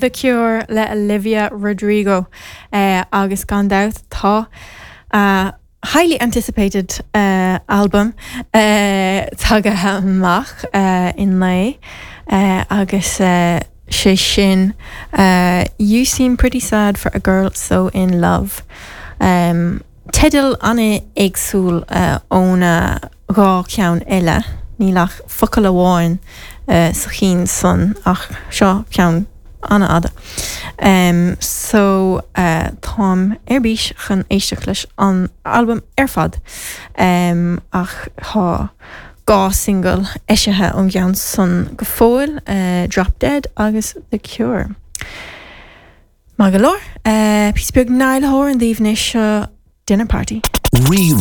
The Cure le Olivia Rodrigo agus gan dabht tá a highly anticipated album tagaithe amach inné agus sé sin You Seem Pretty Sad For A Girl So In Love. Teideal an-éagsúil óna 2 cheann eile, níl ach focal amháin sa chinn san ach seo ceann an-fhada. So táim ar bís chun éisteacht leis an albam ar fad ach tá 2 single eisithe ón gceann san go fóill, Drop Dead agus The Cure. Maith go leor. Píosa beag Niall Horan daoibh anois, seo Dinner Party. Rí.